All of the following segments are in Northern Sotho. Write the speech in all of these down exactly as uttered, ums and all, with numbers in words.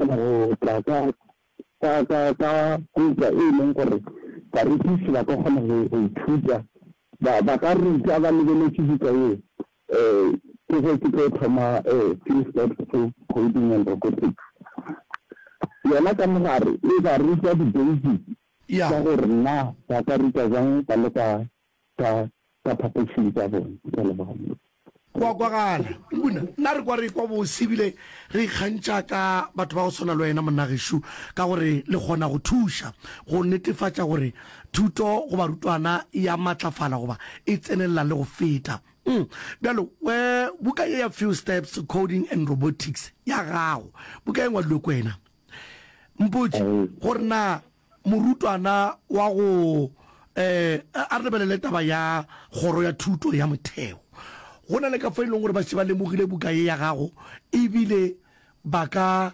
kgona go tla ka ka ka ka buka e leng gore barutiši ba ka kgona go go ithuta, ba ba ka ruta ba lebeletše buka ye. Um ke ge ke tlo thoma um Few Steps to Coding and Robotics. Yona ka mogare e ba ruta di-basic Ya. tša gore na ba ka ruta bjang ba le ka ka ka phapošing tša bona. Ke a leboga. Go a kwagala. Nkuna, nna re kwa re ekwa bose ebile re ikgantšha ka batho ba go swana le wena monna gešo, ka gore le kgona go thuša go netefatša gore thuto go barutwana e a matlafala goba e tsenelela le go feta. Mm. Bjalo, we, buka ye ya Few Steps to Coding and Robotics ya gago, buka e ngwadilwe ke wena. Mpotše gore na morutwana wa go eh, a re lebelele taba ya kgoro ya thuto ya motheo. Go na le ka fa e leng gore ba šetše ba lemogile buka ye ya gago ebile ba ka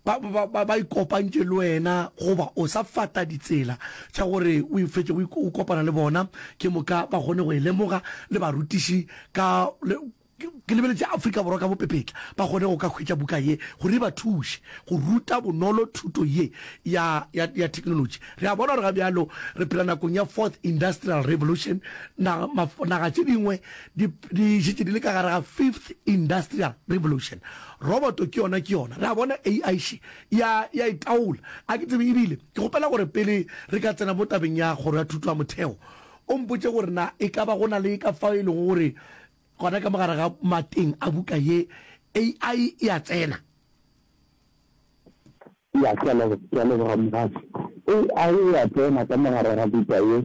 ba, ba, ba, ba ikopantše le wena goba o sa fata ditsela tša gore o fetše o kopana le bona ke moka ba kgone go e lemoga le barutiši ka le, Ke lebeletše Afrika Borwa ka bopepetla, ba kgone go ka hwetša buka ye gore e ba thuše go ruta bonolo thuto ye ya, ya, ya theknolotši. Re a bona gore ga bjalo re phela nakong ya Fourth Industrial Revolution, naga, maf, naga tše dingwe di, di šetše di le ka gare ga Fifth Industrial Revolution. Roboto ke yona, ke yona. Re a bona A I še ya, ya e taola. A ke tsebe, ebile ke kgopela gore pele re ka tsena mo tabeng ya Kgoro ya Thuto ya Motheo, o mpotše gore na e ka ba go na le ka fao e lego gore Gona ka mo gare ga mateng a buka ye, A I e a tsena. Ya, ke a leboga, ke a leboga Mogaši. A I e a tsena ka mo gare ga buka ye.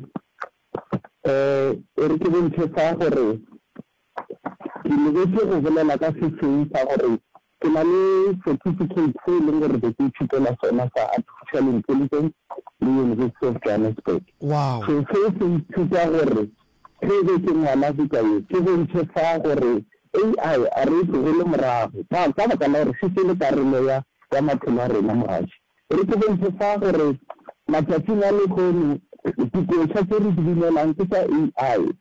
Eh, e re ke bontšhe fa gore ke lebetše go bolela ka se seng sa gore ke na le certificate se e leng gore be ke ithutela sona sa Artificial Intelligence le University of Johannesburg. Wow. So se se nthuta gore Ge e be ke ngwala buka ye, ke bontšhe fa gore A I a re e tlogele morago ka ka baka la gore šetše e le karolo ya ya maphelo a rena mogaši. E re ke bontšhe fa gore matšatšing a lehono dikoša tše re di binelang ke tša A I.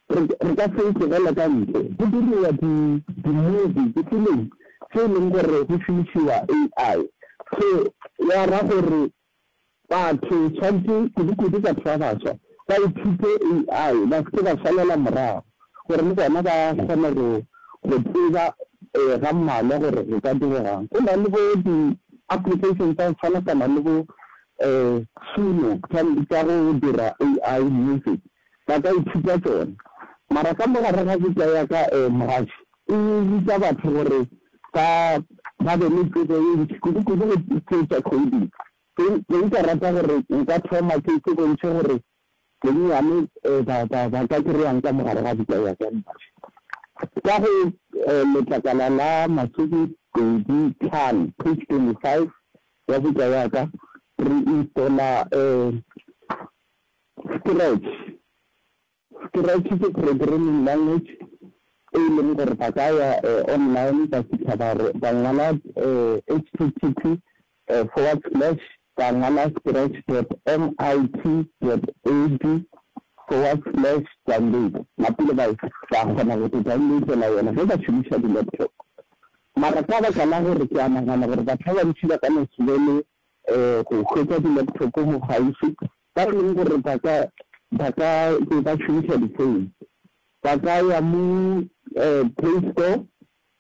Re re ka se e tlogele ka ntle. Go diriwa di di-movie, difilimi tše e leng gore go šomišiwa A I. So ya ra gore Batho tshwanetse, kudu-kudu batho ba baswa, ba ithute A I, ba se ke ba šalela morago, gore le bona ba kgone go, go tseba ga mmalwa gore go ka diregang. Go na le bo di-application tsa go tshwanakana le bo Suno tša, tša go dira A I music, ba ka ithuta tšona. Mara ka mo gare ga buka ya ka, Mogaši, e ruta batho gore ba, ba be le tsebo ye ntši, kudu-kudu go tše tša coding. Ke, ke nka rata gore nka thoma ke, ke bontšhe gore bonnyane ba, ba, ba ka kry-ang ka mo gare ga buka ya ka Mogaši. Ka go letlakala la masomepedi tlhano, page twenty-five, ya buka ya ka, re installa Scratch. Scratch ke programming language e e leng gore ba ka ya online ba fitlha ba re ba ngwala H T T P forward slash ba ngwala scratch dot M I T dot edu forward slash download napile ba ba kgona go te downloadela yona ge ba šomiša di-laptop. Mara ka baka la gore ke a nagana gore batho ba bantši ba ka no se be le go hwetša di-laptop mo kgauswi, ba e leng gore ba ka ba ka be ba šomiša di-phone, ba ka ya mo Play Store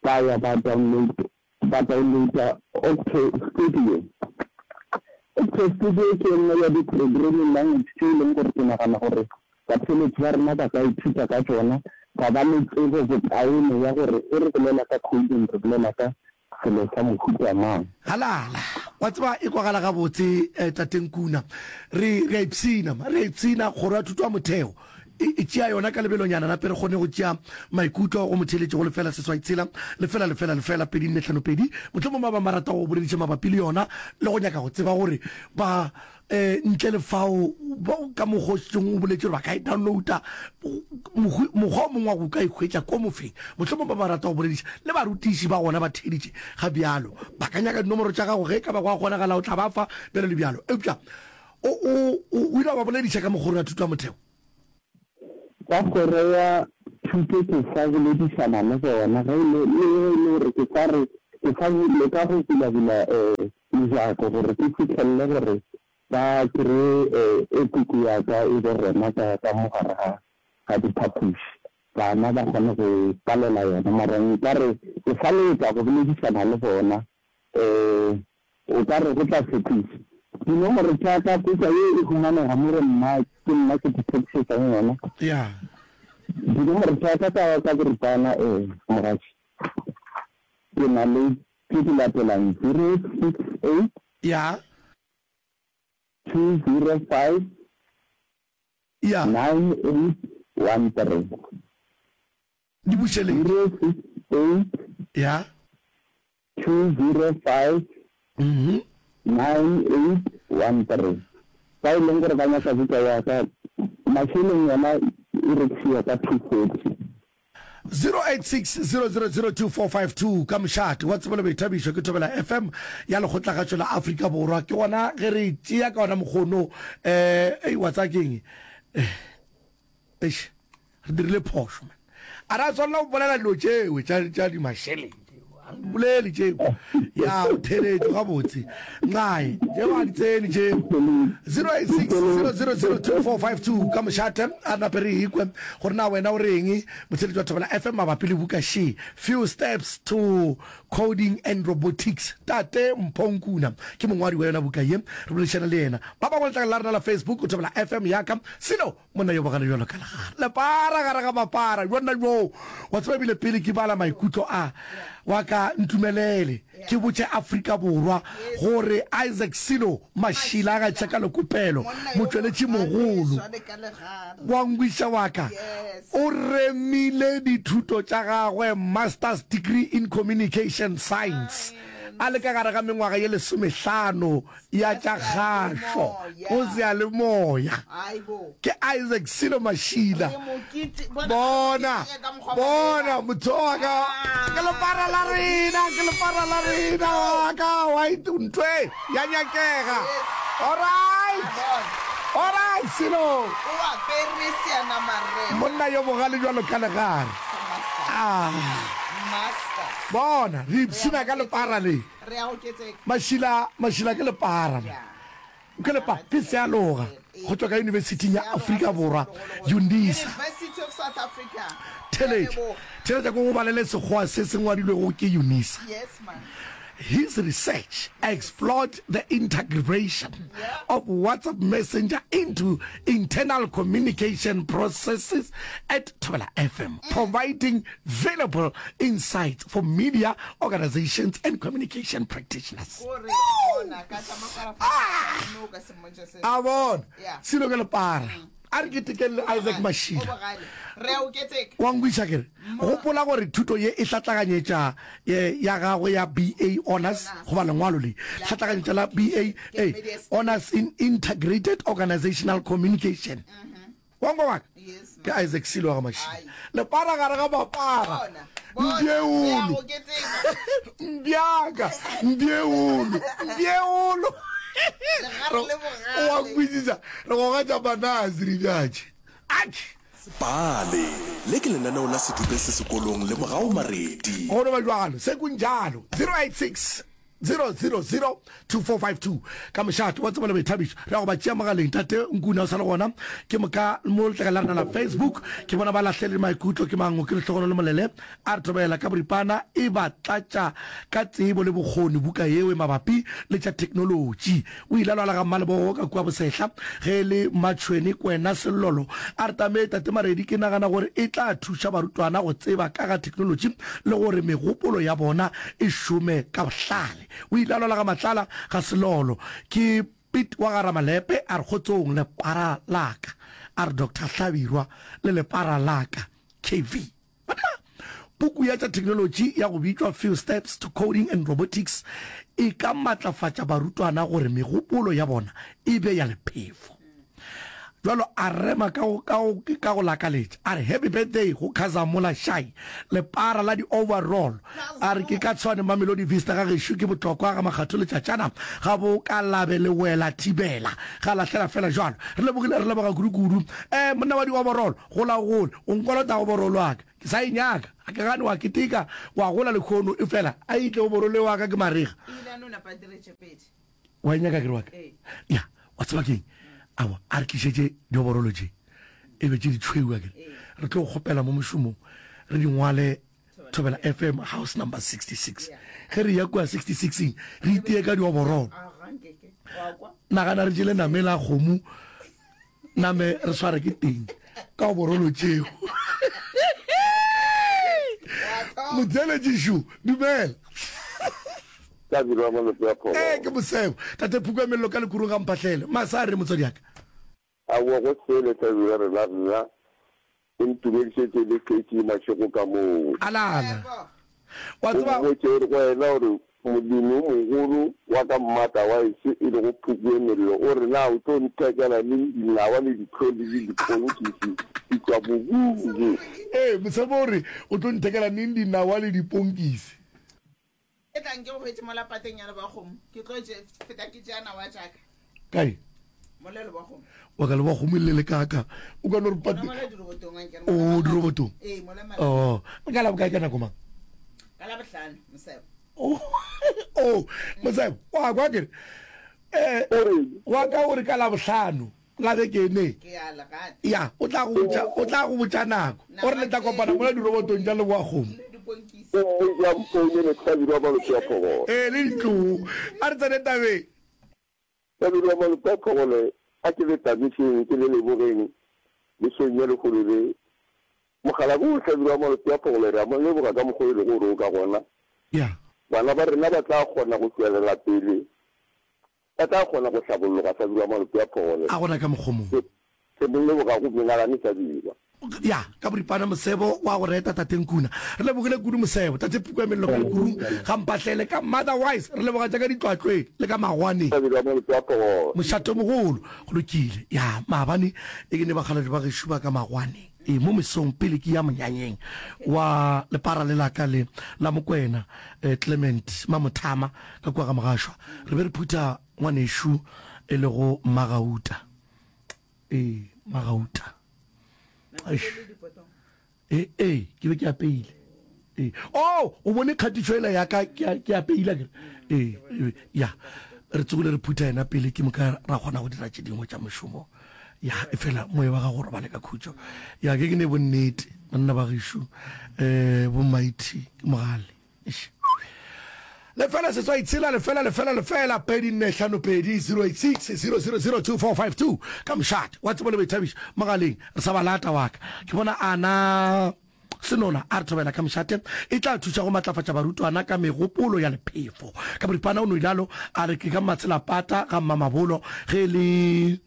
ba ya ba download ba downloada Octo Studio. Octo Studio ke e nngwe ya di-programming language tše e leng gore ke nagana gore batheeletši ba rena ba ka ithuta ka tšona, ba ba le tsebo bokaone ya gore ge re bolela ka coding re bolela ka selo sa mohuta mang. Halala! Wa tseba, e kwagala gabotse, Tate Nkuna. Re, re a ipshina, ma. Re a ipshina. Kgoro ya Thuto ya Motheo e, e tšea yona ka lebelonyana nape re kgone go tšea maikutlo go motheeletši go lefela seswai tshela, lefela lefela lefela pedi nne hlano pedi. Mohlomong ba bang ba rata go bolediša mabapi le yona le go nyaka go tseba gore ba Eh, ntle le fao, ka mokgwa o šetšeng o boletše gore ba ka e downloada, mokgwa o mongwe wa go ka e hwetša ko mofeng. Mohlomong ba ba rata go bolediša le barutiši ba gona ba theeditše ga bjalo. Ba ka nyaka dinomoro tša gago ge e ka ba go a kgonagala o tla ba fa, bjalo le bjalo. Eupša o, o, o ile wa ba bolediša ka mokgwa ya thuto ya motheo? Ka kgoro ya thuto ke sa boledišana le bona ge e le, le ge e le gore ke sa re, ke sa leka go bulabula um mojako gore ke fihlelele gore ba kreye e puku ya ka e be gona ka ka mo gare ga ga diphapoši, bana ba kgone go ipalela yona. Mara nka re ke sa leka go boledišana le bona, um o ka re go tla tshepiša. Dinomoro tša ka, puka ye e humanega mo go nna, ke nna ke di tshepišetšang yona. Ya. Dinomoro tša ka ka ka boripana, um mogatši, ke na le tše di latelang, zero six eight. Ya. Two zero five. Ya. Nine eight one three. Di bušeletše. Zero six eight. Ya. Two zero five. Mhm. Nine eight one three. Ba e leng gore ba nyaka buka ya ka, mašeleng yona e rekišiwa ka two forty. Zero eight six zero zero zero two four five two Ka mošate wa tsebo le boithabišo ke Thobela F M ya Lekgotlakgatšo la Afrika Borwa. Ke gona ge re tšea ka ona mokgono um ei wa tsaya keng eish re dirile phošo man. A ra swanela go bolela dilo tšeo tša tša dimašeleng tšeo a re di bolele tšeo ya o theletšo gabotse nxae tšeo a di tsene tšeo zero eight six zero zero zero two four five two ka mošate a nape re ikwe gore na wena o reng motheletši wa Thobela F M mabapi le buka she Few Steps to Coding and Robotics tate Mpho Nkuna ke mongwadi wa yona buka ye re boledišana le yena ba bangwe letlakala la rena la Facebook Thobela F M yaka selo Monna yo bogale bjalo ka legare, lepara gare ga mapara, bjonna bjoo. Wa tseba, ebile pele ke bala maikutlo a wa ka, ntumelele ke botše Afrika Borwa gore Isaac Silo Mashila ga tšeka lekopelo, motšweletši mogolo wa ngwiša wa ka, o remile dithuto tša gagwe, Master's Degree in Communication Science, a le ka gare ga mengwaga ye lesomehlano ya tša kgašo go seyalemoya ke Isaac Silo Mashila. Bona, bona motho wa ka, ke lepara la rena, ke lepara la rena wa ka, wa ntwe ya nyakega. Alright, alright Silo. Monna yo bogale bjalo ka legare. Ah, bona, re ipshina ka lepara le. Re a oketseka. Mašila, mašila ke lepara. Yeah. Ke lepa, ke sealoga go tšwa ka Yunibesithing ya Afrika Borwa, Unisa. University of South Africa. Theletša, theletša ke go balele Sekgowa se se ngwadilwego ke Unisa. Yes, man. His research explored the integration of WhatsApp Messenger into internal communication processes at Thobela F M, providing valuable insights for media organizations and communication practitioners. Ko re bona ka tša mafarafaraa mme o ka se mmotše selo. A bona Yeah. selo ke lepara. A re ketekeng le Isaac O Mashila. bogale. Re a o keteka. Wa nkwešiša ke re? Gopola gore thuto ye e hlatlaganyetša eh, ya gagwe ya B A Honours goba lengwalo le hlatlaganyetša la B A eh, Honours in Integrated Organizational Communication. Wa nkwa wa ka? Yes, Ke Isaac Silo wa ga Mashilo. Lepara gare ga mapara. Bona. Bona. Re a Mbjeolo. go keteka. Mbjaka. Mbjeolo. Mbjeolo. Legare le bogale. Wa nkwešiša? Re gogatša manase re bjatše. Atšhe. Pale, le ke lenaneo la sedupe se sekolong le Mogau Maredi. Go no ba bjalo, se kunjalo. Zero eight six zero zero zero two four five two ka mošate wa tsebo le boithabišo. Re ya go ba tšea mogaleng. Tate Nkuna o sa le gona. Ke moka mo letlakeng la rena la Facebook ke bona ba lahlele maikutlo. Ke mango ke Lehlogonolo Molele a re thobela ka boripana e ba tlatša ka tsebo le bokgoni buka yeo e mabapi le tša theknolotši. O ile a lwala ga Mmalebogo ka kua Bosehla ge e le Mmatšhwene Kwena Sellolo a re tame Tate Maredi ke nagana gore e tla thuša barutwana go tseba ka ga theknolotši le gore megopolo ya bona e šome ka bohlale. O ile a lwala ga Matlala ga Selolo. Ke Piet wa ga Ramalepe a re kgotsong lepara la ka. A re Doctor Hlabirwa le lepara la ka. K V. Banna! Puku ya tša theknolotši ya go bitšwa Few Steps to Coding and Robotics e ka matlafatša barutwana gore megopolo ya bona e be ya lephefo. Bjalo a rema ka go, ka go, ka go lakaletša. A re, Happy birthday go Khazamola Shai, lepara la di-overall. A re, Ke ka Tshwane Mamelodi Vista ga gešo ke bohlokwa ga Makgatho letšatšana ga bo ka labe le wela thibela ga lahlela fela jwalo. Re lebogile, re leboga kudu-kudu. Eh, monna wa di-overall, gola o gole, o nkolota overall wa ka. Ke sa e nyaka. Ga ke gane wa keteka, wa gola lehono, efela a e tle oborolo wa ka ke marega. Ebile a no napa a dire tše pedi. Wa e nyaka kere wa ka? Ee. Ya, wa tseba keng? Aowa, a re tlišetše dioborolo tše, e be tše ditšhweu akere. Re tlo kgopela mo mošomong, re di ngwale Thobela F M house number sixty-six. Ge re ya kua sixty-six-eng, re itie ka dioborolo. A ga nkeke. Wa kwa? Nagana re jele name la kgomo, name re sware ke teng ka oborolo tšeo. Motheeletši dumela. Ka dirwa malope a phogolo. Ee, ke mosebo. Tate Phuku ya Mello ka Lekurung ga Mphahlele. Masa a re motswadi ya ka. Aowa go sele hlabirwa rena nna o ntumedišetše le Kate mašego ka moo. Alala. Wa O tseba. mmotše o re go yena o re molemi o mogolo wa ka mmata wa ešo e lego Phuku ye Mello o re na o tlo nthekela neng dinawa le ditlhodi le diponkisi di tšwa mobung. Ee, mosebo o re o tlo nthekela neng dinawa le diponkisi. E tlang ke go hwetše mola pateng ya Lebakgomo. Ke tlo je, feta ke tšea nawa tša ka. Kae? Mola Lebakgomo. Wa ka Lebakgomo e le le kaka. O ka no re Gona pate. mola dirobotong a nkere O mola dirobotong. Ee, mola malapa. Oh, ka la bokae ka nako mang? Ka la bohlano, Mosebo. Oh, oh, Mosebo, wa kwa kere. Eh, O reng? wa ka o re ka la bohlano. La beke ne. Ke a le rata. Ya, o tla go botša, o tla go botša nako. O re le tla kopana mola dirobotong tša Leboakgomo. Le diponkisi. O mmotše a mfounele Hlabirwa Malope a Phogole. Ee, le ditloo. A re tsene tabeng. Hlabirwa Malope a Phogole, a ke le tamišeng, ke le lebogeng mesong ya lehono le. Mokgalabje wo Hlabirwa Malope a Phogole re a mo leboga ka mokgwa o e lego gore o ka gona. Ya. Bana ba rena ba tla kgona go tšwelela pele Ba tla kgona go hlabolloga Hlabirwa Malope a Phogole. A gona ka mokgwa mongwe. Ke, ke mo leboga go menagane Hlabirwa. Ya, ka boripana Mosebo wa go reta Tate Nkuna. Re lebogile kudu Mosebo. Tate Puku ya Mello ka Lekurung, ga Mpahlele, ka Motherwise. Re leboga tša ka Ditlwatlweng le ka Magwaneng. Hlabirwa Malope a Phogole. Mošatomogolo. Go lokile. Ya, maabane e ke ne bakgalabje ba gešo ba ka Magwaneng. Ee, mo mesong pele ke ya monyanyeng wa lepara le la ka le la Mokwena, eh, Clement Mamothama ka kua ga Mogašwa, re be re phutha ngwanešu e lego Mmagauta. Ee, Mmagauta. Eish. Ee, ee, ke be ke apeile. Ee. Oh, o bone kgatišo ela ya ka ke ke apeile akere. Ee, ee, ya. Re tsogile re phutha yena pele ke moka ra kgona go dira tše dingwe tša mošomo. Ya, efela moya wa gago o robale ka khutšo. Ya, ke ke ne bonnete, banna ba gešo, eh, bo Mighty Mogale. Eish. Lefela seswai tshela lefela lefela lefela pedi nne hlano pedi zero eight six zero zero zero two four five two ka mošate wa tsebo le boithabišo mogaleng re sa ba lata wa ka ke bona ana Senona a re thobela ka mošate e tla thuša go matlafatša barutwana ka megopolo ya lephefo ka boripana o no ilalo a re ke ka Mmatselapata ga Mmamabolo ge e le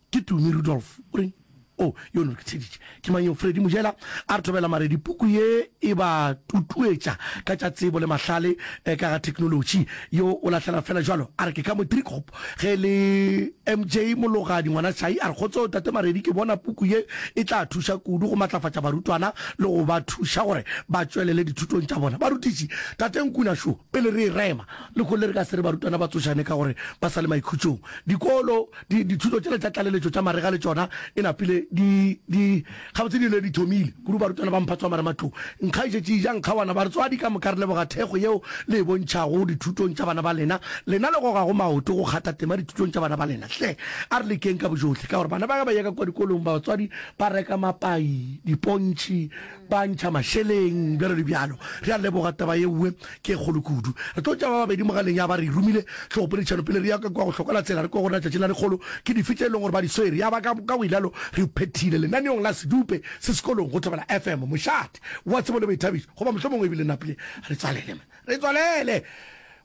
Ke Tumi Rudolph. O reng? Oh, yo no ke theeditše. Ke mang yo? Freddy Mojela a re thobela Maredi. Puku ye e ba tutuetša ka tša tsebo le mahlale eh, ka ga theknolotši. Yo o lahlela fela jwalo a re ke ka mo Driekop. Ge e le M J Mologadi ngwana Shai a re kgotso tate Maredi ke bona puku ye e tla thuša kudu go matlafatša barutwana le go ba thuša gore ba tšwelele dithutong tša bona. Barutiši, tate Nkuna šo pele re e rema lehono le re ka se re barutwana ba tsošane ka gore ba sa le maikhutšong. Dikolo Di, dithuto tšela tša tlaleletšo tša marega le tšona e napile di, di, gabotse di ile di thomile, kudu barutwana ba mphato wa marematlou. Nkga e šetše e ja nkgawana. Batswadi ka moka re leboga thekgo yeo le e bontšhago dithutong tša bana ba lena. Lena le gogago maoto go kgatha tema dithutong tša bana ba lena. Hle a re lekeng ka bojohle ka gore bana ba ge ba eya ka kua dikolong batswadi ba reka mapai, dipontšhi, ba ntšha mašeleng, bjalo le bjalo. Re a leboga taba yeoe ke e kgolo kudu. Re tlo tšea ba babedi mogaleng ya ba re e romile hlogopoledišano pele re ya ka kua go hlokola tsela re kwe gore na tšatši la lekgolo ke dife tše e leng gore ba di swere ya ba ka ka go ilalo re phethile lenaneong la Sedupe se sekolong go Thobela F M mošate wa tsebo le boithabišo goba mohlomongwe ebile napile re tswalele man re tswalele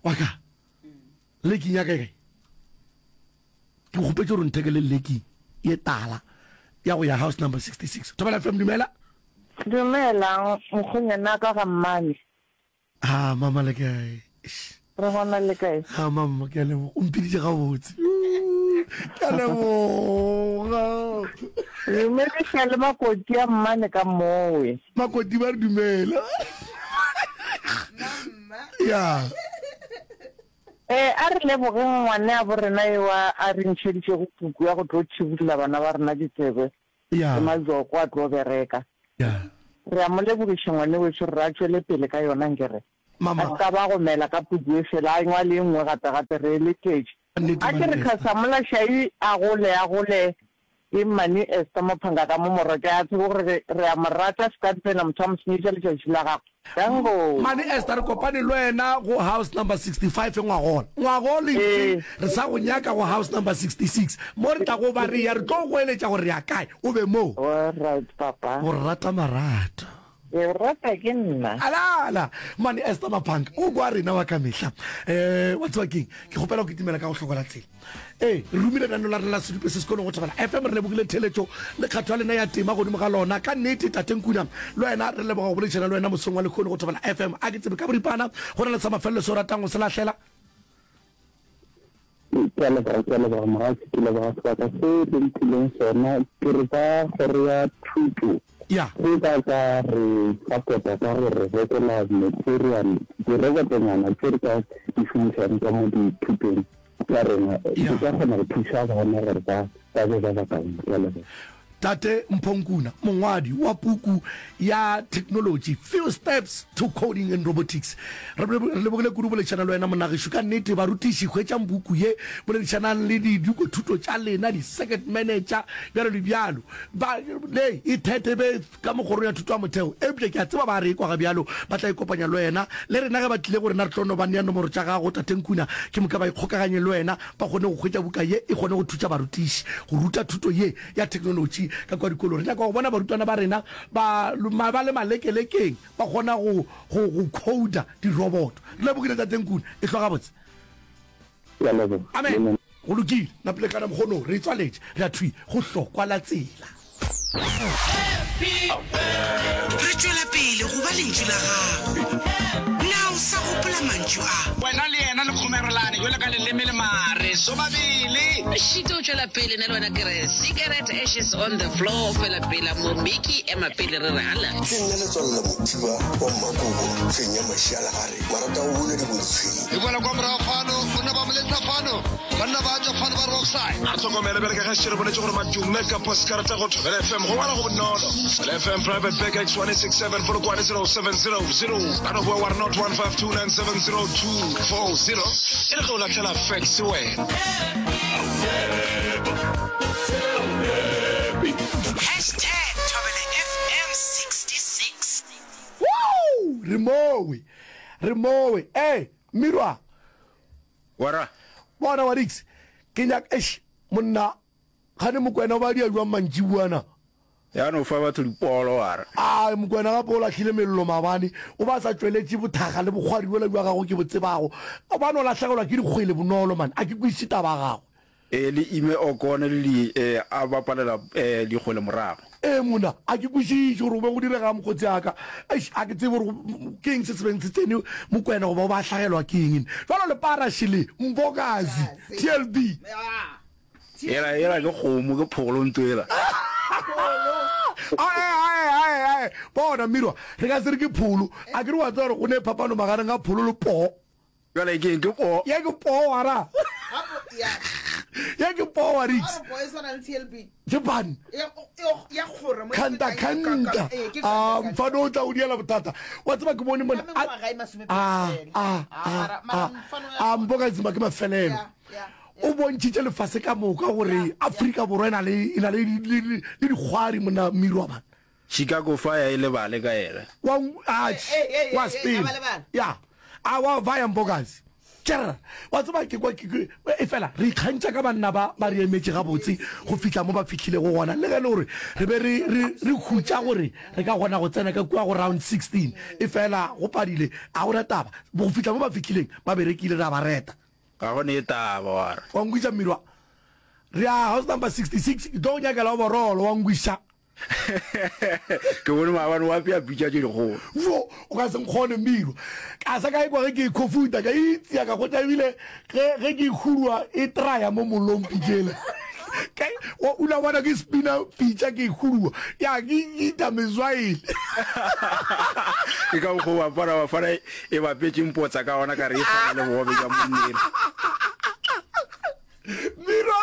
wa ka leking ya ka e kae ke kgopetše gore o nthekele leking ye tala ya go ya house number sixty-six Thobela F M dumela. Dumela mokgonyana ka ga mmane. Ah, mama le kae? Eish. Re gona le kae? Ah, mama ke a leboga. O mpiditše gabotse. Ke a leboga. Dumediša le makoti a mmane ka mowe. Makoti ba re dumela. Mama. Ya. Eh, a re lebogeng ngwaneabo rena ewa a re ntšheditšego puku ya go tlo thibulla bana ba rena ditsebe Ya. le majoko a tlo bereka. Ya. Re a mo lebogiša ngwane wešo re re a tšwele pele ka yona nkere Mama. a se ka ba gomela ka puku e fela a ngwale e nngwe gape gape re e letetše. Ka nnete A ke Mane re Esther. Khasamola Shai a gole a gole ke Mmane Esther Mophanka ka mo morwa ke a tsebe gore re re a mo rata se ka tsena motho a mo senyetša letšatši la gagwe. Danko. Mmane Esther re kopane le wena go house number sixty five ngwagola. Ngwagola ntši Ee. re sa go nyaka go house number sixty six mo re tlago ba re ya re tlo go eletša gore re ya kae o be moo. Alright papa. Go rata marato. Ke o rata ke nna. Alala! Mmane Esther Maphanka o kwa rena wa ka mehla. Eh, wa tseba keng? Ke kgopela go kitimela ka go hloko la tsela. Ee, re romile lenaneo la rena la Sedupe se Sekolong go Thobela F M. Re lebogile theeletšo le kgatho ya lena ya tema godimo ga lona. Ka nnete, Tate Nkuna, le wena re leboga go boledišana le wena mosong wa lehono go Thobela F M. A ke tsebe ka boripana go na le sa mafelelo se o ratang go se lahlela? Ke a leboga, ke a leboga mogatši, ke leboga sebaka se le mphileng sona. Ke re ba kgoro ya thuto Ya. ge ba ka re support-a ka go re rekela material, dirobotonyana tše re ka di šomišang ka mo dithutong tša rena, di Ya. ka kgona go thuša bana gore ba ba be ba bakaone. Ke a leboga. Tate Mpho Nkuna, mongwadi wa puku ya theknolotši Few Steps to Coding and Robotics. Re lebogile kudu boledišana le wena monagešo. Ka nnete barutiši hwetšang buku ye, boledišanang le didikothuto tša lena, di-circuit manager, bjalo le bjalo. Ba le e thete be ka mo kgorong ya thuto ya motheo. Eupša ke a tseba ba re ekwa ga bjalo, ba tla ikopanya le wena. Le rena ge ba tlile go rena re tlo no ba nea nomoro tša gago, Tate Nkuna, ke moka ba ikgokaganye le wena, ba kgone go hwetša buka ye e kgone go thutša barutiši go ruta thuto ye ya theknolotši ka kua dikolong. Re nyaka go bona barutwana ba rena ba, ba le malekelekeng, ba kgona go, go, go coder diroboto. Re lebogile, Tate Nkuna. Ehlwa gabotse. Ke a leboga. Amen. Go lokile. Napilekana mokgono, re e tswaletše. Re ya thwi go hlokwa la tsela. Re tšwela pele go ba lentšu la gago. Na o sa gopola mantšu a? Wena le yena le kgomerelane bjalo ka leleme le mare sobabele. Šito o tšwela pele nna le wena ke re cigarette ashes on the floor fela pela mo Mickey ema pele re re hala. Ke nna Letswalo la Mothiba wa Mmakobo, fenya mašialagare, marata go buna dibotshweng. E boela kwa morago fano, banna ba moletsa fano, banna ba tšwa fano ba re offside. A re hlokomele bjale ka ge šetše re boletše gore madume ka poskarata go Thobela F M go ngwala go bonolo. Thobela F M Private Bag X one eight six seven Polokwane zero seven zero zero. Ba no boa wa re not one five two nine seven zero two four zero e le ge o lahlela fax wena. Hashtag Thobela F M sixty six. Woo! Re mowe. Re mowe. Ee, Mirwa. Wara. Bona wa Dix. Ke nyaka eish monna gane Mokwena o ba dia jwang mantšibuana. Ya no fa batho dipolo wara. A Mokwena gape o lahlile mello maabane, o ba sa tšweletše bothakga le bokgwari bjola bja gagwe ke bo tsebago. O ba no lahlegelwa ke dikgwele bonolo man, a ke kwešiše taba ya gagwe. E le Ime Okone le di e a bapalela e dikgwele morago. Ee monna, a ke kwešiše gore go be go diregang mokgotsi a ka. Eish, a ke tsebe gore ke eng se se beng se tsene Mokwena goba o ba hlagelwa ke eng. Jwalo lepara šele, Mbokazi, T L B. Yela, yela ke kgomo, ke pholo nto yela. Ae, ae, ae, ae. Bona, Mirwa, re ka se re ke pholo. A ke re wa tseba gore go ne phapano magareng ga pholo le poo. Bjale ke eng? Ke poo. Ye ke poo, wa ra. Ye ke poo, wa Rix. Ke ban. Kanta, kanta. A, mfano o tla o diela bothata. Wa tseba ke bone mona. A, a, a, a, a, a, Mbokazi ke mafelelo. O bontšhitše lefase ka moka gore Afrika Borwa e na le, e na le, le, le, le dikgwari mona Mirwa man. Chicago Fire e lebale ka yena. Wa, atjhe, wa sepela. Ya. A wa vaya Mbokazi. Tšerra. Wa tseba ke kwa ke, ke, e fela re ikgantšha ka banna ba ba re emetše gabotse go fihla mo ba fihlilego gona. Le ge e le gore re be re, re, re hutša gore re ka kgona go tsena ka kua go round sixteen, e fela go padile, ga go na taba. Go fihla mo ba fihlileng, ba berekile, re a ba reta. Ga go ne taba wa re. Wa nkwiša Mmirwa. Re ya house number sixty six, ke tlo go nyakela overall, wa nkwiša. Ke bone maabane wa apea pitša tše dikgolo. Jo, o ka se nkgone Mmirwa. Ka sa ka ekwa ge ke e khofuta, ka itšea ka hwetša ebile ge, ge ke e hurua e traya mo mollong pitša ela. Ka, wa, o la bona ke spina pitša ke e hurua, ya ke ita mezwaele. Ke ka mokgwa o Bafana Bafana e bapetše mpotsa ka gona ka re e swana le bogobe bja monnela. Mirwa!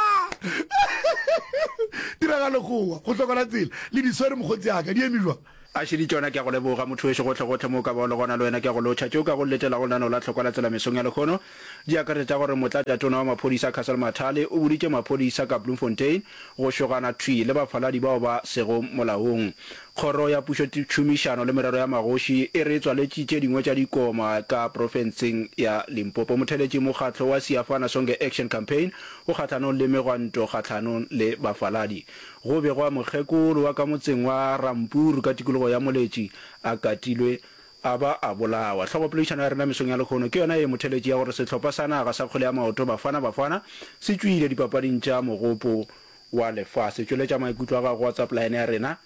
Tiragalo gowa, go hlokola tsela, le di swere mokgotsi ya ka, di eme jwang? A šedi tšona, ke a go leboga motho wešo gohlegohle mo o ka bago le gona, le wena ke a go lotšha. Tšeo ka go letelago lenaneo la Tlhokwa la Tsela mesong ya lehono di akaretša tša gore Motlatšatona wa Maphodisa Cassel Mathale o boditše maphodisa ka Bloemfontein go šogana thwi le bafaladi bao ba sego molaong. Kgoro ya Pušotšhomišano le Merero ya Magoši e re e tswaletše tše dingwe tša dikoma ka profenseng ya Limpopo. Motheletši Mokgatlo wa Siyafana Sonke Action Campaign o kgahlanong le megwanto kgahlanong le bafaladi. Go begwa mokgekolo wa ka motseng wa Rampuru ka tikologo ya Moletši a katilwe a ba a bolawa. Hlogopoledišano ya rena mesong ya lehono ke yona ye motheletši ya gore sehlopha sa naga sa kgwele ya maoto Bafana Bafana se tšwile dipapading tša mogopo wa lefase. Tšweletša maikutlo a gago go WhatsApp line ya rena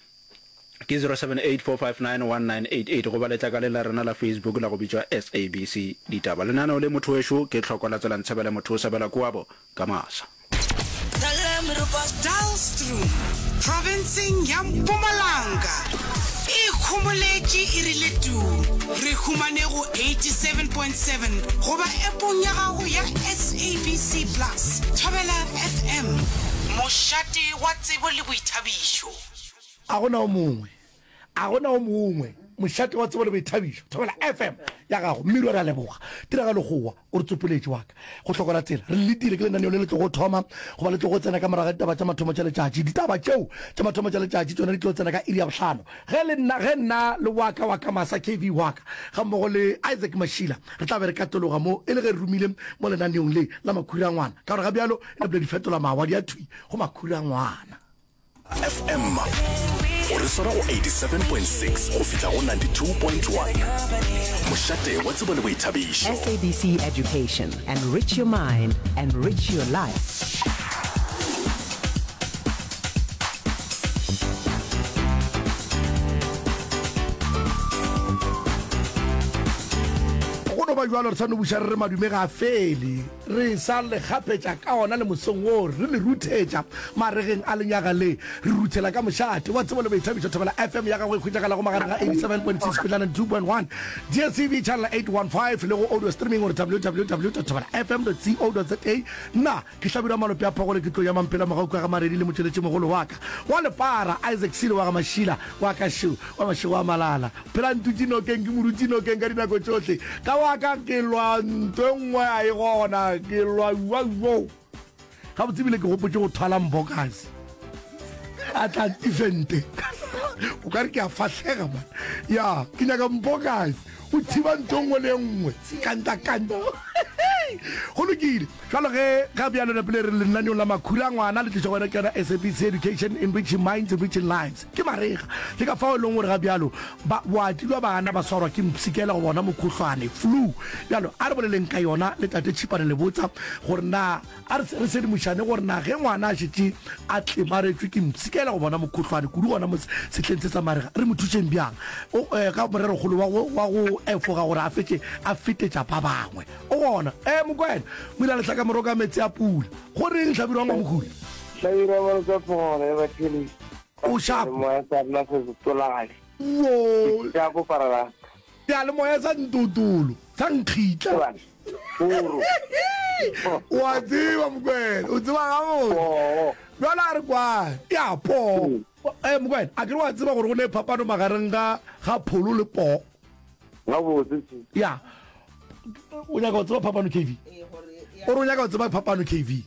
ke zero seven eight four five nine one nine eight eight goba letlakaleng la rena la Facebook la go bitšwa S A B C Ditaba. Lenaneo le motho wešo ke Tlhoko la Tsela Ntshebele motho o sebela koabo ka masa. Dullstroom, profenseng ya Mpumalanga, e ikhomoletše e rile tuu. Re humane go eighty seven point seven goba appong ya gago ya S A B C Plus. Thobela F M, mošate wa tsebo le boithabišo. A gona o mongwe, a gona o mongwe, mošate wa tsebo le boithabišo, Thobela F M ya gago. Mmiri wa re a leboga. Tiragalo gowa o re tsopoletše wa ka. Go hlokola tsela. Re letile ke lenaneo le le tlogo thoma goba le tlogo tsena ka morago ga ditaba tša mathomo tša letšatši. Ditaba tšeo tša mathomo tša letšatši tšona di tlo tsena ka iri ya bohlano. Ge le nna, ge nna le wa ka wa ka masa K V wa ka gammogo le Isaac Mashila re tla be re katologa mo e le ge re romile mo lenaneong le la Makhura a Ngwana. Ka gore ga bjalo e napile di fetola mawa di ya thwi go Makhura a Ngwana. F M o re swara go eighty seven point six go fihla go ninety two point one Mošate wa tsebo le boithabišo. S A B C Education, enrich your mind, enrich your life. Go no ba bjalo, re sa no buša re re madume ga a fele. Re sa le kgapetša ka ona le mosong wo, re le ruthetša maregeng a lenyaga le. Re ruthela ka mošate wa tsebo le boithabišo Thobela F M ya gago e hwetšagalago magareng ga eighty seven point six go ninety two point one, D S T V channel eight one five le go audio streaming gore W W W dot thobela F M dot co dot za. Nna ke Hlabirwa Malope a Phogole, ke tlo ya Mampela mogau ka ga Maredi le motšweletšimogolo wa ka wa lepara Isaac Silo wa ga Mašila wa ka šo wa mašego a malala. Phela ntutše nokeng, ke mo dutše nokeng ka dinako tšohle. Ka wa ka ke lwa nto e nngwe a e gona, ke lwa uauo. Gabotse ebile ke gopotše go thwala Mbokazi a tla ntifente. O ka re ke a fahlega man. Ya, ke nyaka Mbokazi o thiba nto e nngwe le e nngwe. Kanta kanta. Go lokile. Bjalo ge ga bjalo napile re lenaneong la Makhura a Ngwana le tlišwa go wena ke yona S A B C Education, Enriching Minds, Enriching Lives. Ke marega. Ke ka fao e leng gore ga bjalo ba boati bja bana ba swarwa ke mpshikela goba ona mokhuhlwane, flu. Bjalo a re boleleng ka yona le Tate Tšhipane Lebotsa gore na a re re sedimošane gore na ge ngwana a šetše a tlemaretšwe ke mpshikela goba ona mokhuhlwane kudu gona mo sehleng se sa marega re mo thušeng bjang o ka morerokgolo wa go wa go efoga gore a fetše a fetetša ba bangwe. O gona. Ee, Mokwena. O ile a lehlaka moro ka meetse a pula. Go reng, Hlabirwa Ngwamokguli? Hlabirwa Moro ka phogolo ya batheeletši. O šapo. Moya sa rena se se tolagale. Wo. Šapo parara. Seyalemoya sa ntotolo, sa nkgitla. Poro. O a tseba, Mokwena. O tseba gabotse. Poo. Bjale a re kwane. Ya, poo. Ee, Mokwena, a ke re wa tseba gore go ne phapano magareng ga, ga pholo le poo? Gabotse tše. Ya. O nyaka go tseba phapano K V? O re o nyaka go tseba phapano K V.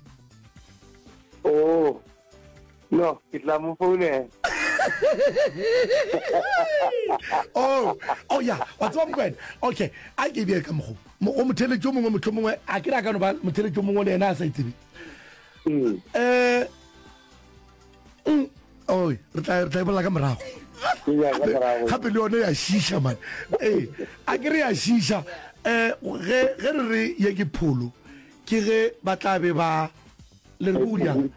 Oh. No, ke tla mo founela. Oh, oh ya, wa tseba Mokwena. Okay, a ke bee ka mokgo. Go motheletši o mongwe mohlomongwe a ke re a ka no ba motheletši o mongwe le yena a sa e tsebe. Mm. Eh, mm, oi, re tla re tla e bolela ka morago. Gape le yone ya šiša man. Ee, a ke re ya šiša. Eh, ge ge re re ye ke pholo, ke ge ba tla be ba le re go diang.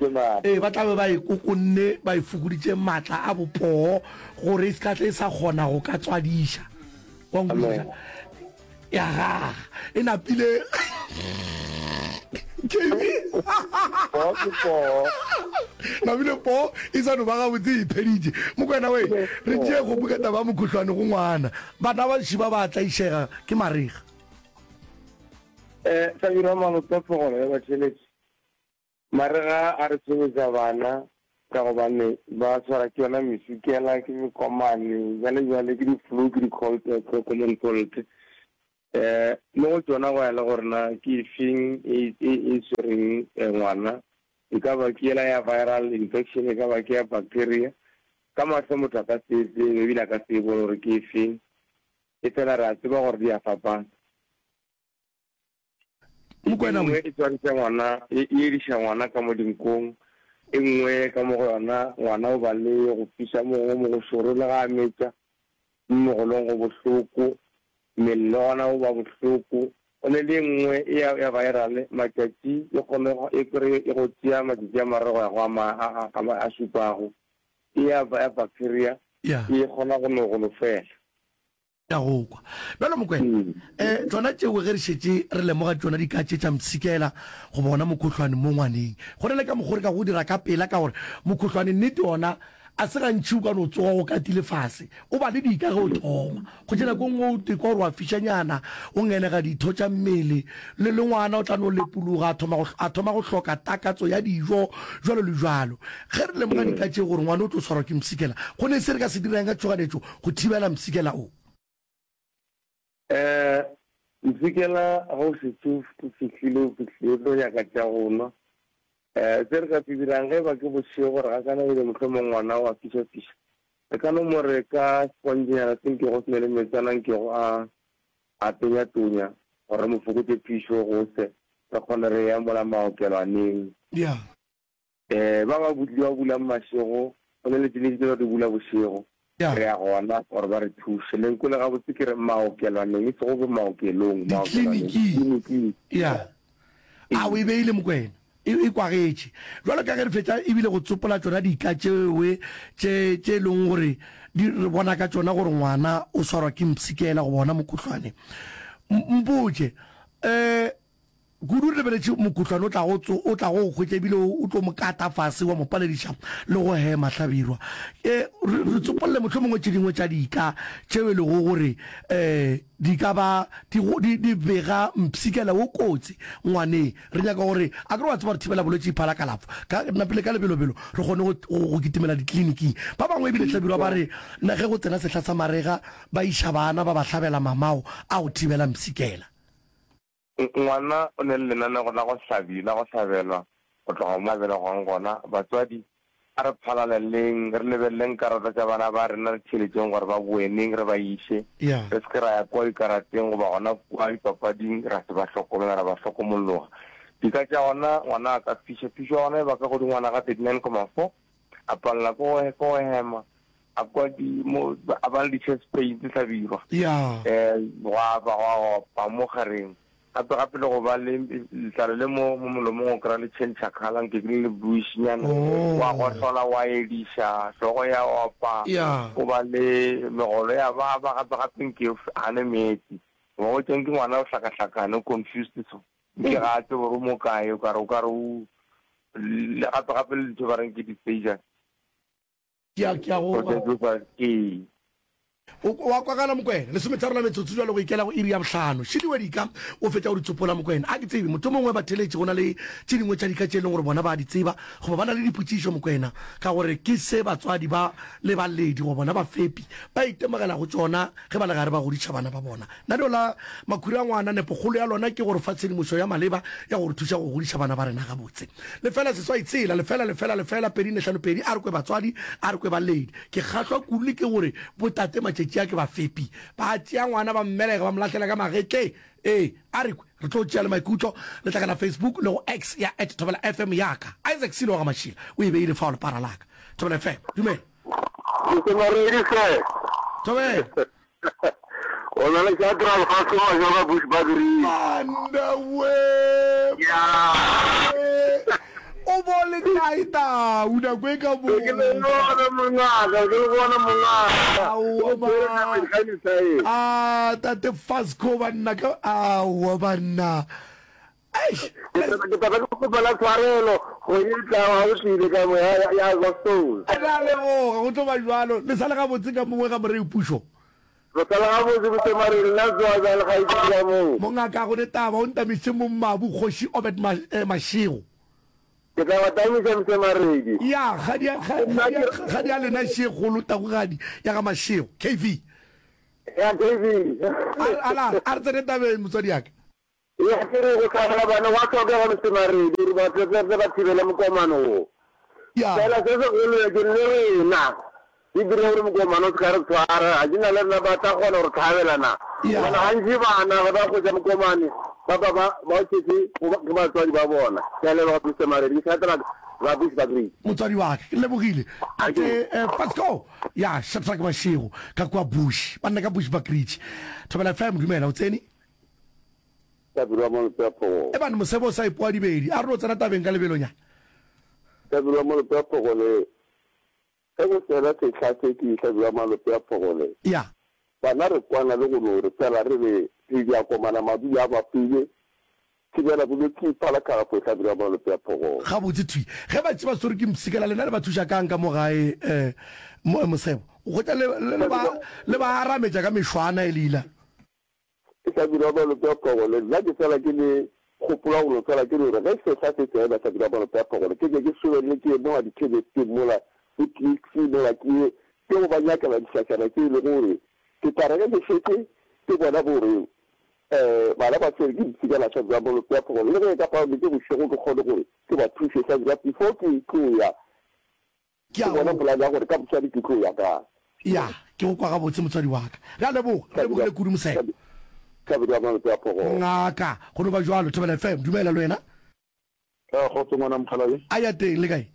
Ee, ba tla be ba e kokonne, ba e fokoditše matla a bopoo gore e se ka tle e sa kgona go ka tswadiša. Wa nkwešiša? Ya gaga e napile K V. Poo ke poo. Napile poo e sa no ba gabotse e ipheditše. Mokwena we, re tšee kgopu ka taba ya mokhuhlwane go ngwana. Bana ba šiba ba tlaišega ke marega. Eh, Hlabirwa Malope Phogolo ya batheeletši. Marega a re tshwenyetša bana Ka gobane ba swara ke yona mesukela, ke mekomane, bjale bjale ke di-flu, ke di-cold, common cold. Um mo go tšona go ya le gore na ke efeng e, e, e swereng ngwana, e ka ba ke yela ya viral infection, e ka ba ke ya bacteria. Ka mahlo motho a ka se e tsebe ebile a ka se e bone gore ke efeng, efela re a tseba gore di a fapana. E Mokwena nngwe e swariša ngwana, e e ediša ngwana ka mo dinkong, e nngwe ka mo go yona ngwana o ba le go fiša mo gongwe mo go šoro le ga a metša, mo mogolong go bohloko, mmele le gona o ba bohloko. Go ne le e nngwe e ya ya viral, matšatši e kgone e kry e go tšea matšatši a mararo go ya go a ma a a a a šupago. E ya ya bacteria Ya. e kgona go no go no fela. Ke a go kwa. Bjalo Mokwena, um tšona tšeo ge re šetše re lemoga tšona dika tše tša mpshikela goba ona mokhohlwane mo ngwaneng, go na le ka mokgo re ka go dira ka pela ka gore mokhohlwane nnete ona a se gantši o ka no tsoga o katile fase, o ba le dika ge o thoma. Kgotše nako e nngwe o tekwa gore wa fišanyana, o ngenega ditho tša mmele, le le ngwana o tla no lepologa a thoma go, a thoma go hloka takatso ya dijo, jwalo le jwalo. Ge re lemoga dika tše gore ngwana o tlo swarwa ke mpshikela, go ne se re ka se dirang ka tšhoganetšo go thibela mpshikela o. Eh, mpshikela ge o šetše o fihlile, o fihlile, o tlo nyaka tša go nwa. Eh, se re ka se dirang ge e ba ke bošego, re gakanegile mohlomong ngwana o a fišafiša, re ka no mo re ka sepontšenyana se nkego se ne le meetsana nkego a, a tonya-tonya gore re mo fokotše phišo go se re kgone re ya mola maokelwaneng. Yeah. Eh, ba ba butli ba bulang mašego, go ne le tše dintši tše ba di bula bošego. Ya. Re ya gona gore ba re thuše. Le nkwele gabotse ke re maokelwaneng, e sego bo maokelong, maokelwaneng, Dikliniking. dikliniking. Ya. A o e beile Mokwena? E, e kwagetše. Bjalo ka ge re fetša ebile go tsopola tšona dika tšewe tše, tše e leng gore di, re bona ka tšona gore ngwana o swarwa ke mpshikela goba ona mokhuhlwane. M, mpotše, eh, Kudu re lebeletše mokhuhlwane o tlago tso, o tlago go hwetša ebile o, o tlo mo kata fase wa mo palediša le go hema. Hlabirwa, E, re, re tsopolle mohlomongwe tše dingwe tša dika tšeo e lego gore um di ka ba di, di, di bega mpshikela wo kotsi ngwaneng. Re nyaka gore, akere wa tseba gore thibela bolwetši e phala kalafo. Ka, napile ka lebelobelo re kgone go, go, go kitimela dikliniking. Ba bangwe ebile Hlabirwa ba re, na ge go tsena sehla sa marega ba iša bana ba ba hlabela mamao a go thibela mpshikela. Ngwana o ne le lenanego la go hlabi, la go hlabelwa go tloga mo a belegwang gona. Batswadi, a re phalaleleng, re lebeleleng karata tša bana ba rena, re theeletšeng gore ba boe neng, re ba iše. Re se ke ra ya kua dikarateng goba gona kua dipapading ra se ba hlokomela, ra ba hlokomologa. Dika tša gona, ngwana a ka fiša. Phišo ya gona e ba ka godingwana ga thirty-nine comma four, a palela ke go, ke go hema, a kwa di, mo, a ba le di-chest pains, Hlabirwa. Ya. Eh, gwa ba gwa opa mo gareng. Gape gape le go ba le letlalo le mo, mo molomong o kry-a le tšhentšha colour, nke ke le le bluish-nyana. Oh. Wa gohlola, wa ediša, hlogo ya opa. Ya. O ba le megolo ya baba, gape gape nke o gane meetse. Wa hwetša nke ngwana o hlakahlakane, o confused so. Nke ga a tsebe gore o mo kae, o ka re, o ka re o, le gape gape le ntho e ba reng ke di-seizures. Ke a, ke a go kwa. Ee. O, wa kwagala, Mokwena. Lesometharo la metsotso bjalo go ikela go iri ya bohlano. Šidi wa dika, o fetša go di tsopola, Mokwena. A ke tsebe, mohlomongwe batheeletši go na le tše dingwe tša dika tše e leng gore bona ba a di tseba, goba ba na le dipotšišo, Mokwena, ka gore ke se batswadi ba le baledi goba bona bafepi ba itemogelago tšona ge ba le gare ba godiša bana ba bona. Lenaneo la Makhura a Ngwana, nepokgolo ya lona ke go re fa tshedimošo ya maleba ya go re thuša go godiša bana ba rena gabotse. Lefela seswai tshela, lefela, lefela, lefela, pedi nne hlano pedi, a re kwe batswadi, a re kwe baledi. Ke kgahlwa kudu le ke gore botate matšatši a ke bafepi. Ba tšea ngwana ba mmelega ba mo lahlela ka magetleng. Ee, a re kwe, re tlo tšea le maikutlo letlakala Facebook le go X ya at Thobela F M ya ka. Isaac Silo wa ga Mašila o e beile fao lepara la ka. Thobela F M, dumela. Ke Maredi hle. Thobela. O na le Shadrack Lefase Majoga Bush Bagri. Banna we. Ya. O bo le kae tau nako e ka mo. Ke le bona mongaka, ke le bona mongaka. Aowa ba. Ah, tate Fasco banna ka aowa banna. Eish. Ke tla ke kgopela tshwarelo kgwedi e tlago ga o tlile ka mo ya ya Gospel. Re a leboga, go tlo ba bjalo. Le sa le gabotse ka mongwe ga Morei Pušo? Re sa le gabotse Bosemareng, nna tsoa bjang le kgaetšedi ka moo? Mongaka go ne taba, o ntamišitše mong mabu Kgoši Obed Mashego. Ke tla ba tamiša Mse Maredi. Ya, kgadi ya, kgadi ya, kgadi ya lena še kgolo, tagugadi ya ga Mashego, K V. Ya, K V. A, ala, a re tsene tabeng, motswadi ya ka. Ya, ke re go hlabela bana gwa hlokega Mse Maredi, gore ba tle tle ba thibele mokomano wo. Ya. Fela se segolo ke le rena, re dire gore mokomano o se ka re tshwara, ga ke na le rena ba tla kgona go re hlabela na? Ya. Gobane gantši bana ge ba hwetša mokomane, ba ba ba ba o tšetše go ba ke batswadi ba bona. Ke a leboga Mister Maredi, ke Shadrack ba Bushbuckridge. Motswadi wa ka, ke lebogile. Tate eh, Pasco, ya Shadrack Mashego ka kua Bush, banna ka Bushbuckridge. Thobela F M, dumela, o tsene? Hlabirwa Molope wa Phogole. Ebane mosebo o sa ipoa dibedi, a re no tsena tabeng ka lebelonyana. Hlabirwa Molope wa Phogole, Ge go fela sehla se ke Hlabirwa Malope wa Phogole. Ya. Bana re kwana le go no re fela re re re di a komana madulo a bapile, thibela bolwetši phala kgafo Hlabirwa Malope wa Phogole. Gabotse thwi. Ge ba tše ba swerwe ke mpshikela lena le ba thuša kang ka mo gae eh, mosebo? O hwetša le, le, le ba, le ba arametša ka mešwana e leila. Hlabirwa Malope a Phogole, Nna ke fela ke le gopola go no fela ke no re ge sehla se tsena Hlabirwa Malope a Phogole ke ke ke sobelele ke ye mola dikhemisteng mola bo Clicks mola ke ye ke go ba nyakela dihlašana tše e lego gore ke tla re ge ke šetše ke bona gore um bana ba swere ke mpshikela Hlabirwa Malope a Phogole le ge e ka ba ke bošego ke kgone gore ke ba thuše Hlabirwa before ke tlo ya Ke Ke a bona go. polane ya gore ka moswane ke tlo ya kae. Ya, ke go kwa gabotse, motswadi wa ka. Re a leboga, re lebogile kudu, Mosebo. Hlabirwa ya Malope a Phogolo. Ngaka, go no ba bjalo. Thobela F M, dumela le wena. A kgotso ngwana mokgalabje. A ya teng, le kae?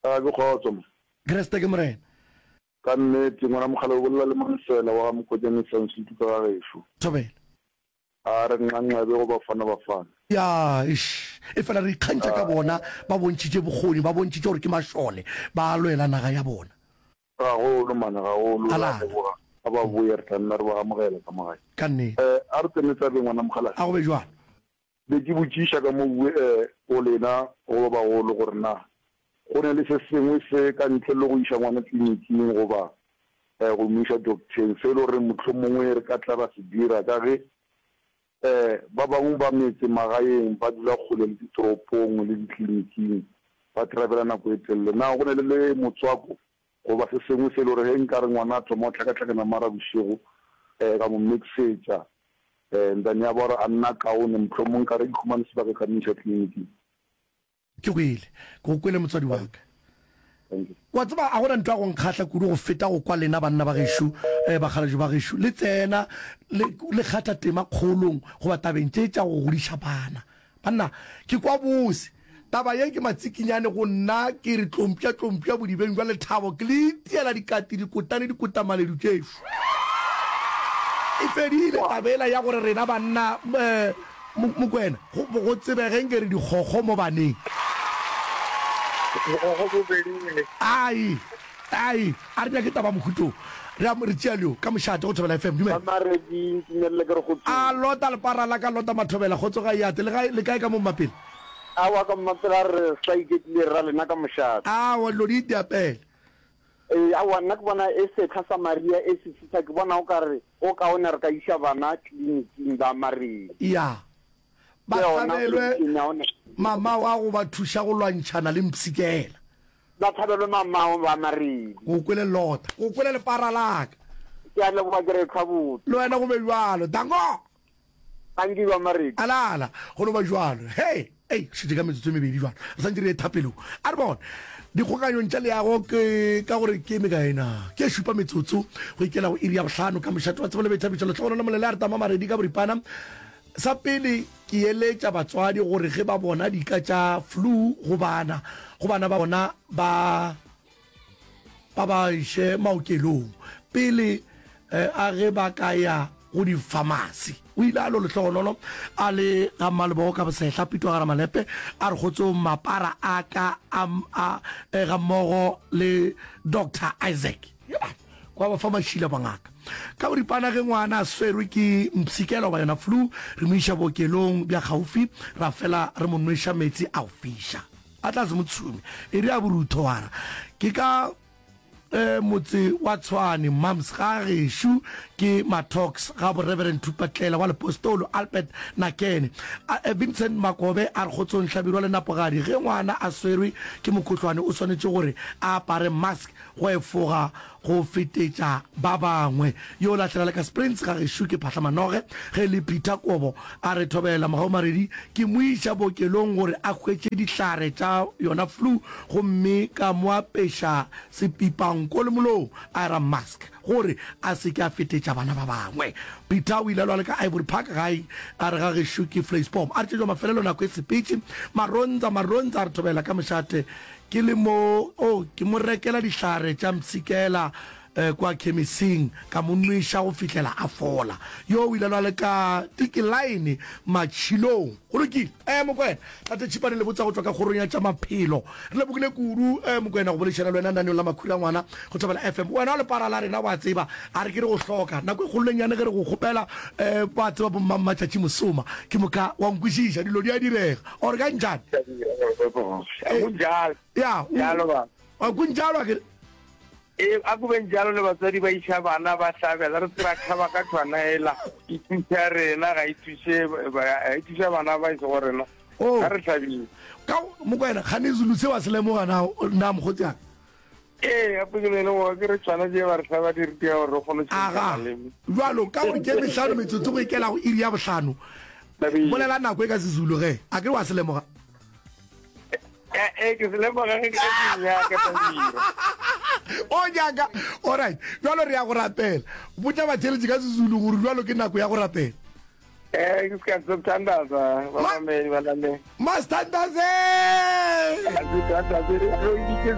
A ke kgotso mo. Kriste ke Morena. Ka nnete ngwana mokgalabje o bolela le Malefela wa ga Mokotjane Sansutu ka ga gešo. Thobela. A re nxanxabe go Bafana Bafana. Ya, eish. Efela re ikgantšha ka bona, ba bontšhitše bokgoni, ba bontšhitše gore ke mašole, ba lwela naga ya bona. Gagolo, mane, gagolo. Re a Alana. leboga. A ba boye, re tla nna re ba amogela ka mo gae. Ka nnete. Eh, a re tsene tabeng, ngwana mokgalabje. A go be bjalo. Be ke botšiša ka mo eh, go lena, go ba bagolo, gore na go ne le se sengwe se ka ntle le go iša ngwana tleliniking goba eh, go mo iša docteng, se e le gore mohlomongwe re ka tla ra se dira ka ge eh, ba bangwe ba metse magaeng ba dula kgole le ditoropong le ditleliniking, ba travela nako e telele. Na go ne le le motswako goba se sengwe se e le gore ge nka re ngwana a thoma go hlakahlakana mara bošego eh, ka mo mixetša eh, then ya ba gore a nna kaone, mohlomongwe nka re ke khumane sebaka ka mo iša tleliniking? Ke kwele. Ke go kwele, motswadi wa ka. Wa tseba, ga go na ntho ya go nkgahla kudu go feta go kwa lena banna ba gešo, eh, bakgalabje ba gešo, le tsena le, le kgatha tema kgolong goba tabeng tše tša go godiša bana. Banna, ke kwa bose. Taba ye ke matsikinyane go nna, ke re tlompša, tlompša bodibeng bja lethabo, ke le itiela dikati, dikotane, dikotamaledu tšešo. E fedile taba yela ya gore rena banna, eh, Mokwena, go go tsebege nke re dikgokgo mo baneng. Bokgokgo bo fedile. Ai, ai, a re nyake taba mohuto. Re a re tšea leo ka mošate go Thobela F M. Dumela. Mamaredi, ntumelele ke re kgotsong. A lota lepara la ka lota Mathobela, kgotso ga e ate. Le gae, le kae ka mo Mmapele? Aowa ka Mmapele a re sa iketlile ra lena ka mošate. Aowa dilo di itiapele. Ee, aowa nna ke bona e setlha sa Maria e se fihla ke bona o ka re go kaone re ka iša bana tleliniking ba Maria. Ya. Ba Ke yona hlabelwe solution ya gona. mamao a go ba thuša go lwantšhana le mpshikela. Ba hlabelwe mamao ba Maria. Ke go kwele lota. Ke go kwele lepara la ka. Ke a leboga ke re ehlwa botse. Le wena go be bjalo. Danko! Dankie ba Maredi. Alala, go no ba bjalo. Hei, ei, re šetše ka metsotso e mebedi bjalo. Re santše re ye thapelong. A re bone. Dikgokanyong tša leago ke ka gore ke mekae na? Ke e šupa metsotso go ikela go iri ya bohlano ka mošate wa tsebo le boithabišo. Lehlogonolo Molele a re tama Maredi ka boripana. Sa pele ke eletša batswadi gore ge ba bona dika tša flu go bana, go bana ba bona ba ba ba iše maokelong pele a ge ba ka ya go difamasi. O ile a lo lehlogonolo a le ga Mmalebogo ka bosehla, Pitwa ga Ramalepe a re kgotsong mapara a ka a, a, ga mmogo le Doctor Isaac. Kwa ba fa mašila bangaka. Ka boripana ge ngwana a swerwe ke mpshikela goba yona flu, re mo iša bookelong bja kgaufi, ra fela re mo nweša meetse a go fiša. A tla se mo tshume. E re a borutho wa ra. Ke ka eh, motse wa Tshwane, Mams, ga gešo ke Ke Mattox ga bo Reverend Thupatlela wa Lepostolo Albert Nakene. A, Vincent Makobe a re kgotsong Hlabirwa le Napogadi ge ngwana a swerwe ke mokhohlwane o swanetše gore a apare mask go efoga go fetetša ba bangwe. Yo lahlela le ka Springs ga gešo ke Phahla Manoge ge le Peter Kobo a re thobela Mogau Maredi ke mo iša bookelong gore a hwetše dihlare tša yona flu gomme ka mo apeša sepipanko le molomo a era mask gore a se ke a fetetša bana ba bangwe. Peter o ile a lwa le ka Ivory Park gae a re ga gešo ke Vleisboom. A re tšetšwa mafelelo nako e sepetše. Marontsa Marontsa a re thobela ka mošate ke le mo oh ke mo rekela dihlare tša mpshikela eh, kwa khemising ka mo nweša go fihlela a fola. Yo o ile a lwa le ka tikilaene matšhilong. Go lokile. Eh Mokwena, Tate Tšhipane le botsa go tšwa ka kgorong ya tša maphelo. Re lebogile kudu eh Mokwena go boledišana le wena naneong la Makhura Ngwana go Thobela F M. Wena o lepara la rena wa tseba, a re ke re go hloka. Nako e kgololenyane ge re go kgopela eh ba tseba bo mmammatšatši mosoma. Ke moka wa nkwešiša, dilo di a direga. Or ka njani? Kunjalo. Ya, Jalo ba. Kunjalo akere. Ee, a ku beng jalo le batswadi ba iša bana ba hlabela, re se ra thaba ka thwana ela, e thuša rena, ga e thuše, ga e thuša bana ba e sego rena. Oh. Ga re hlabile. Ka Mokwena, gane Zulu se wa se lemoga na, na mokgotsi aka? Ee, gape ke ne le gore ke re tšhwana tše ba re hlaba di re dira gore re kgone go tšhentšha Aga, maleme. bjalo ka gore ke mehlano metsotso go ikela go iri ya bohlano, bolela nako e ka Sezulu ge, a ke re wa se lemoga? Ee, ke se lemoga ge ke ke nyaka Tabira. O nyaka? Alright, bjalo re ya go rapela. Botša batheeletši ka Sezulu gore bjalo ke nako ya go rapela. Eh, ke sikhathi sokuthandaza bamameli balaleli. Masithandaze! Asithandaze, re itse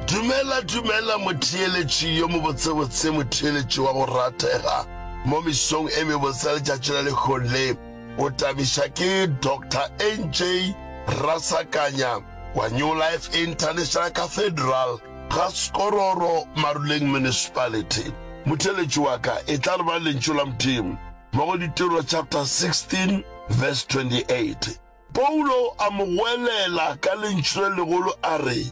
Dumela, dumela motheeletši yo mobotsebotse, motheeletši wa go ratega mo mesong e mebotse ya letšatši la lehono le. O tabiša ke Doctor N J Rasakanya wa New Life International Cathedral ga Skororo, Maruleng Municipality. Motheeletši wa ka, etla re bale Lentšu la Modimo mo go Ditiro chapter sixteen verse twenty-eight. Paulo a mo goelela ka lentšu le legolo a re,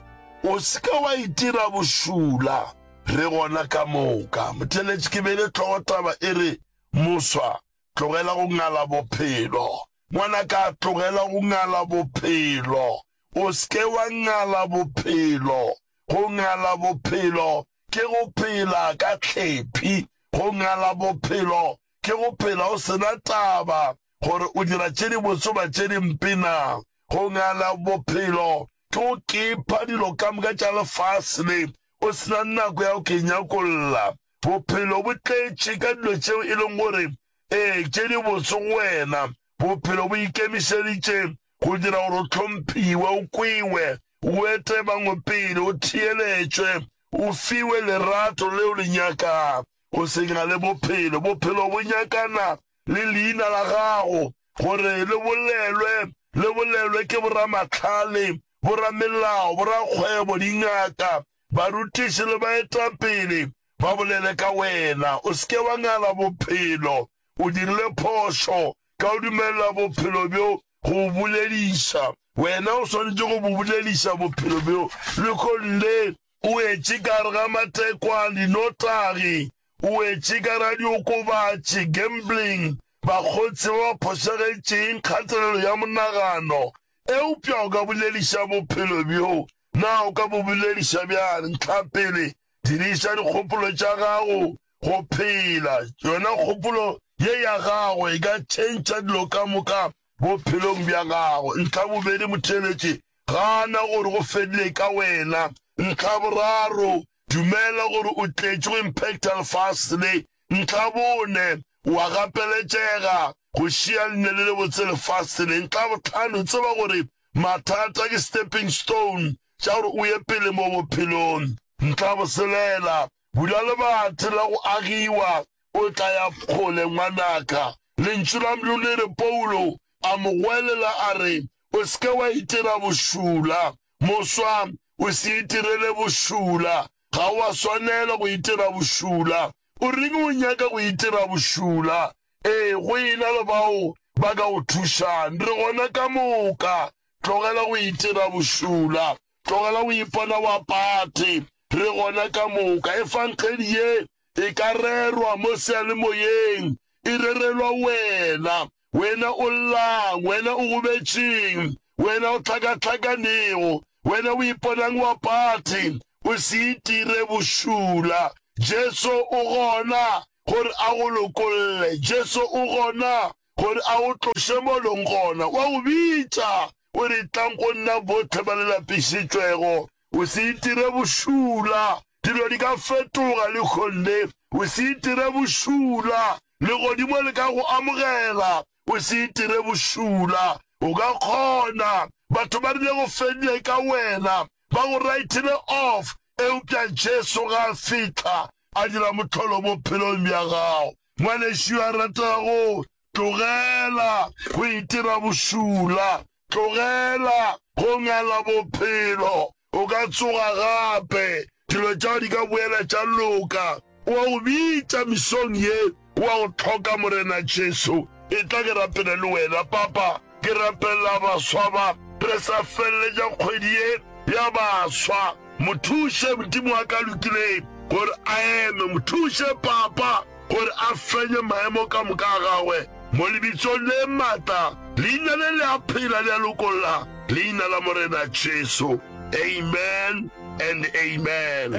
O se ke wa itira bošula, re gona ka moka. Motheeletši, ke beile hlogotaba e re, Moswa, tlogela go ngala bophelo. Ngwanaka, tlogela go ngala bophelo. O se ke wa ngala bophelo. Go ngala bophelo ke go phela ka hlephi. Go ngala bophelo ke go phela o se na taba gore o dira tše dibotse goba tše dimpe na. Go ngala bophelo ke go kepa dilo ka moka tša lefase le o se na nako ya go ke nyakolla. Bophelo bo tletše ka dilo tšeo e leng gore ee tše dibotse go wena. Bophelo bo ikemišeditše go dira gore o hlomphiwe, o kwewe, o ete bangwe pele, o theeletšwe, o fiwe lerato leo le nyakang. O se ngale bophelo. Bophelo bo nyakana le leina la gago gore le bolelwe, le bolelwe ke boramahlale, boramelao, borakgwebo, dingaka, barutiši le baetapele ba bolele ka wena. O se ke wa ngala bophelo. O dirile phošo ka go dumelela bophelo bjo go o bolediša. Wena o swanetše go bo bolediša bophelo bjo. Lehono le o wetše ka gare ga matekwane, dinotagi, o wetše ka gare ga diokobatši, gambling, bakgotsi ba ba phošagetšeng, kgatelelo ya monagano. Eupša o ka bolediša bophelo bjo. Na o ka bo bolediša bjang? Ntlhapele, diriša dikgopolo tša gago go phela. Yona kgopolo ye ya gago e ka tšhentšha dilo ka moka bophelong bja gago. Ntlha bobedi, motheeletši, gana gore go fedile ka wena. Ntlha boraro, dumela gore o tletše go impacta lefase le. Ntlha bone, o a gapeletšega go šia leina le lebotse lefase le. Ntlha bohlano, tseba gore mathata ke stepping stone tša gore o ye pele mo bophelong. Ntlha boselela, bula lebati la go agiwa, o tla ya kgole ngwanaka. Lentšu la Modimo le re Paulo a mo goelela a re, O se ke wa itira bošula. Moswa, o se itirele bošula. Ga o a swanela go itira bošula. O reng o nyaka go itira bošula? Ee, go ena le bao ba ka go thušang. Re gona ka moka. Tlogela go itira bošula. Tlogela go ipona wa pate. Re gona ka moka. Efangedi ye e ka rerwa mo seyalemoyeng, e rerelwa wena. Wena o llang, wena o gobetšeng, wena o hlakahlakanego, wena o iponang wa pati, o se itire bošula. Jesu o gona gore a go lokolle. Jesu o gona gore a go tloše mo leng gona. O a go bitša, o re, Tlang go nna bohle ba le lapišitšwego. O se itire bošula. Dilo di ka fetoga lehono le. O se itire bošula. Legodimo le ka go amogela. O se itire bošula. O ka kgona. Batho ba rile go fedile ka wena. Ba go writile off. Eupša Jesu ga a fihla, a dira mohlolo bophelong bja gago. Ngwanešu yo a rategago, tlogela go itira bošula. Tlogela go ngala bophelo. O ka tsoga gape. Dilo tša gago di ka boela tša loka. O a go bitša mesong ye. O a go hloka, Morena Jesu. Etla ke rapele le wena. Papa, ke rapelela baswa ba. Re sa feleletša kgwedi ye ya baswa. Mo thuše, Modimo wa ka lokileng, gore a eme. Mo thuše, Papa, gore a fenye maemo ka moka a gagwe. Mo lebitsong le maatla, Leina le le a phela, le a lokolla, Leina la Morena Jesu. Amen and amen.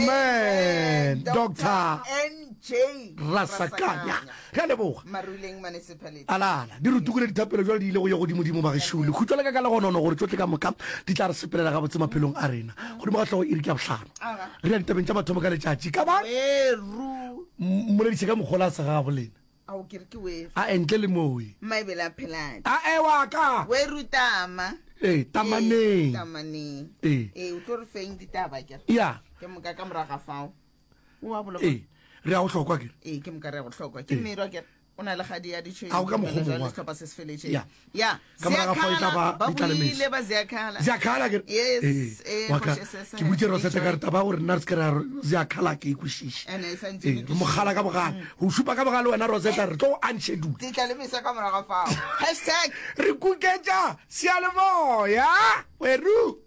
Amen. Doctor N J Rasakanya. Re a leboga. Maruleng Municipality. Alala, di re tukule dithapelo jwale di ile go ye godimodimo bagešo. Lekhutšo la ka ka legonono gore tšohle ka moka di tla re sepelela gabotse maphelong a rena. Godimo ga hlogo iri ke ya bohlano. Re ya ditabeng tša mathomo ka letšatši. Ka ba Weru. mmolediše ka mokgola a segagabo lena. Ao ke re ke weru. A entle le mowe. Mmaebele a pheladi. A ewa ka. Weru tama. Ee, tamaneng. Ee, tamaneng. Ee. Ee, o tlo re feng ditaba ke re. Ya. Ke moka ka morago ga fao. O a boloka. Ee, re ya go hlokwa ke re. Ee, ke moka re ya go hlokwa. Ke mmerwa ke re. O na le kgadi ya ditšhwene. A o ka mokgwa o mongwe wa ka. Sehlopha se se feletšeng. Ya. Ya. Ka morago ga fao e tla ba Ba ditlalemetso. buile ba Ziakhala. Ziakhala ke re. Yes. Ee, Ee, wa ka. Kgoši Sese. Ke boditše Rosetta ka re taba ya gore nna re se ke ra re Ziakhala ke e kwešiše. Ene e santše Ee, re mo kgala ka bogale. Go šupa ka bogale wena Rosetta re tlo go unschedule. Ditlalemisa ka morago ga fao. Hashtag. Re kuketša seyalemoya. Weru.